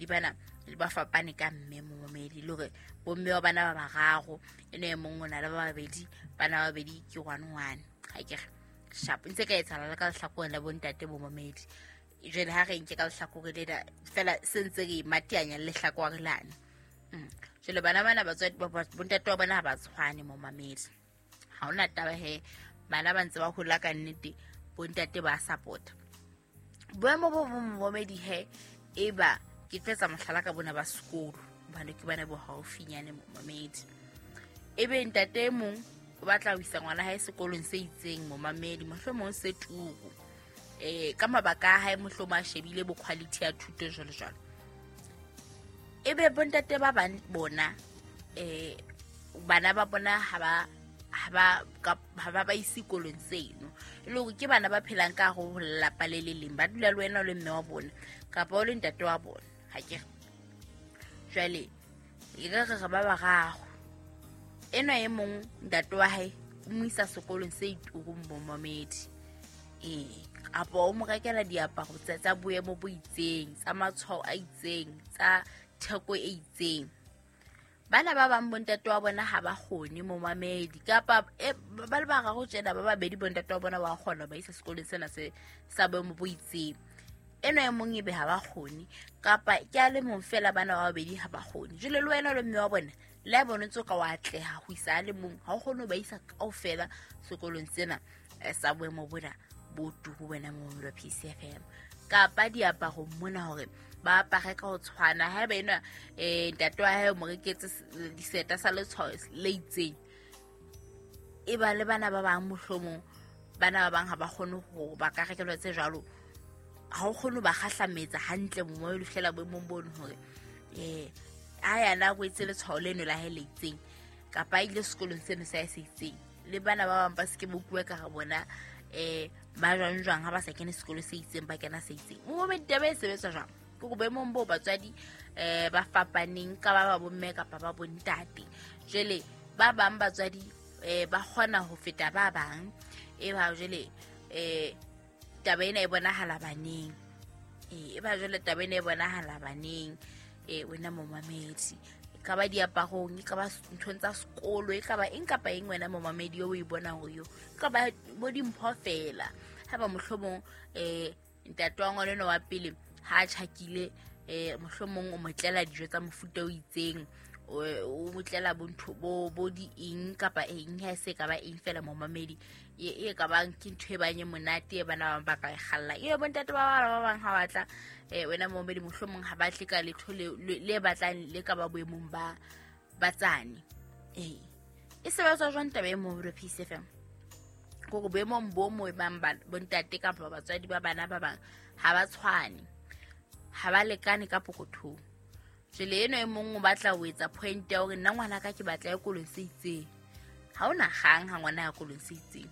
babedi bana ba fapane ka mme momamedi, le hore bomme wa bana ba bararo, ene e mong o na le ba babedi, bana ba babedi ke one one. Ha ke re sharp ntse ka etsahala le ka lehlakoreng la bontate momamedi. Jwale ha re nke ka lehlakore lena fela se ntse re mateanya le lehlakore lane. Jwale bana bana batswadi bontate wa bona ha ba tshwane momamedi. Ha hona taba he, bana ba ntse ba hola ka nnete, bontate ba support. Boemo bo bong momamedi he, eba ke tlo etsa mohlala ka bona ba sekolo, hobane ke bana bo haufinyane momamedi. Ebe ntate e mong o batla ho isa ngwana hae sekolong se itseng momamedi, mohlomong se turu. Ka mabaka a hae mohlomong a shebile bo quality ya thuto jwalo jwalo. Ebe bontate ba bang bona bana ba bona ha ba ba ise kolong seno, e le hore ke bana ba phelang ka hare ho lelapa le le leng, ba dula le wena o le mme wa bona kapa o le ntate wa bona. Ha ke re jwale e ka re re ba bararo, enwa e mong ntate wa hae o mo isa sekolong se iturung momamedi, kapa o mo rekela diaparo tsa boemo bo itseng, tsa matshwao a itseng, tsa theko e itseng. Bana ba bang bontate wa bona ha ba kgone momamedi, kapa ba le bararo tjena ba babedi bontate wa bona wa kgona ba isa sekolong sena se sa boemo bo itseng. Enwa e mong ebe ha ba kgone, kapa ke a le mong fela bana ba babedi ha ba kgone. Jwale le wena le mme wa bona le a bone ntse ka wa atleha ho isa a le mong, ha o kgone ho ba isa kaofela sekolong sena sa boemo bona bo turu wena momamedi wa PCFM. Kapa diaparo mona hore ba apare ka ho tshwana, haeba enwa ntate wa hae o mo reketse diseta sa letshwao le itseng, e ba le bana ba bang mohlomong bana ba bang ha ba kgone ho ba ka rekelwa tse jwalo, ha o kgone ho ba kgahlametsa hantle momamedi ho fihlela boemong bono hore ha yana a kwetse letshwao leno la hae le itseng, kapa a ile sekolong seno sa hae se itseng, le bana ba bang ba se ke ba utlwe ka ga bona ba jwang jwang ha ba sa kene sekolo se itseng ba kena se itseng. Momamedi taba e sebetsa jwang? Ke hore boemong boo batswadi ba fapaneng ka ba ba bomme kapa ba bontate. Jwale ba bang batswadi ba kgona ho feta ba bang, e ba jwale taba ena e bonahala baneng. E ba jwale taba ena e bonahala baneng, wena momamedi. E ka ba diaparong, e ka ba nthong tsa sekolo, e ka ba eng kapa eng wena momamedi eo o e bonang hore yo, e ka ba bo dimpho fela. Haeba mohlomong ntate wa ngwana enwa wa pele ha a tjhakile, mohlomong o mo tlela dijo tsa mofuta o itseng, o mo tlela bo ntho bo di eng kapa eng, ha e se ka ba eng fela momamedi, e ka bang ke ntho e bang e monate e bana ba bang ba ka e kgalla. Ebe bontate ba bang ba bang ha ba tla, wena momamedi mohlomong ha ba tle ka letho le batlang le ka ba boemong ba tsane. E sebetsa jwang taba e mo re PCFM? Hore boemong bo mo bang bontate kapa batswadi ba bana ba bang ha ba tshwane, ha ba lekane ka pokothong. Jwale eno e mong o batla ho etsa point ya hore nna ngwana ka ke batla ya kolong se itseng. Ha hona kgang ha ngwana ya kolong se itseng.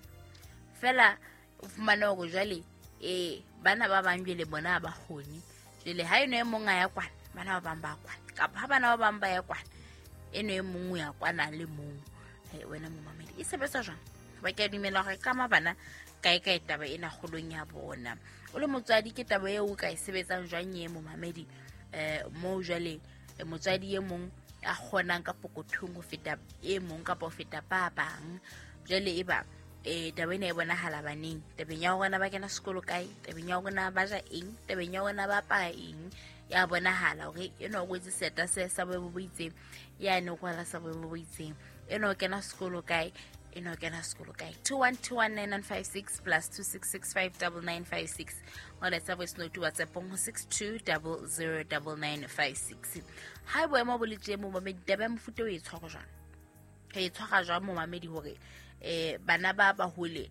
Fela o fumane hore jwale bana ba bang jwale bona ha ba kgone. Jwale ha eno e mong a ya kwana, bana ba bang ba kwana. Kapa ha bana ba bang ba ya kwana, eno e mong o ya kwana le mong. Wena momamedi, e sebetsa jwang? Ba ke a dumela hore ka bana kae kae taba ena kgolong ya bona. O le motswadi ke taba eo o ka e sebetsang jwang e momamedi? Moo jwale motswadi e mong a kgonang ka pokothong ho feta e mong kapa ho feta ba bang. Jwale e ba taba ena e bonahala baneng, tabeng ya hore na ba kena sekolo kae, tabeng ya hore na ba ja eng, tabeng ya hore na ba apara eng, ya bonahala hore enwa o kwetse seta se sa boemo bo itseng, yane o kwala sa boemo bo itseng, enwa o kena sekolo kae, enwa o kena sekolo kae. 21219956 plus 26659956. Ngola voice note WhatsApp ho 62009956. Ha boemo bo le tje momamedi, taba ya mofuta o e tshwara jwang? Re e tshwara jwang momamedi hore bana ba bahole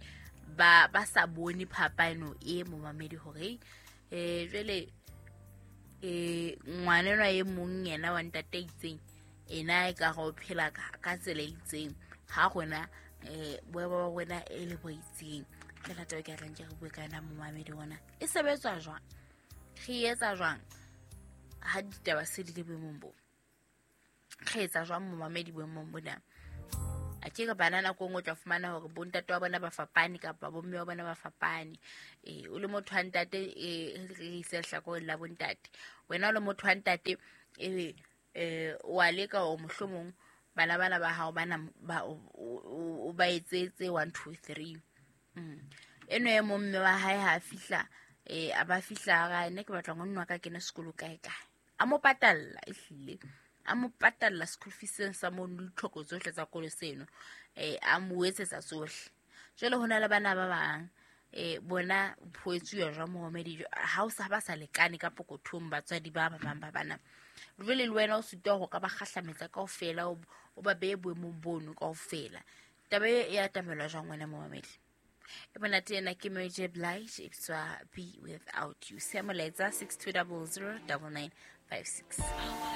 ba sa bone phapano e momamedi hore jwale ngwana enwa e mong yena wa ntate itseng ena e ka go phela ka tsela e itseng, ha rona boemo ba rona e le bo itseng. Ke rata ke tlang ke re bue ka yona momamedi ona. E sebetswa jwang? Re etsa jwang ha ditaba se di le boemong bo? Re etsa jwang momamedi boemong bona? A ke re bana nako e nngwe o tla fumana hore bontate wa bona ba fapane kapa bomme wa bona ba fapane. Ee, o le motho wa ntate, re ise lehlakoreng la bontate. Wena o le motho wa ntate, ebe wa leka hore mohlomong bana bana ba hao bana ba o ba etsetse 1 2 3. Eno e mong mme wa hae ha a fihla, a ba fihla a re, nna ke batla ngwanno wa ka kene sekolo kae kae. A mo patalla, ehlile. A mo patalla school fees seno sa mono le ditlhoko tsohle tsa kolo seno. A mo etsetsa tsohle. Jwale ho na le bana ba bang, bona ho etsuwa jwang momamedi, ha o sa ba sa lekane ka pokothong batswadi ba ba bang ba bana. Jwale le wena o sitwa ho ka ba kgahlametsa kaofela, o ba behe boemong bono kaofela. Taba e ya atamelwa jwang wena momamedi? E monate ena ke Mary J. Blige, e bitswa Be Without You. Sia molaetsa 6200 9956.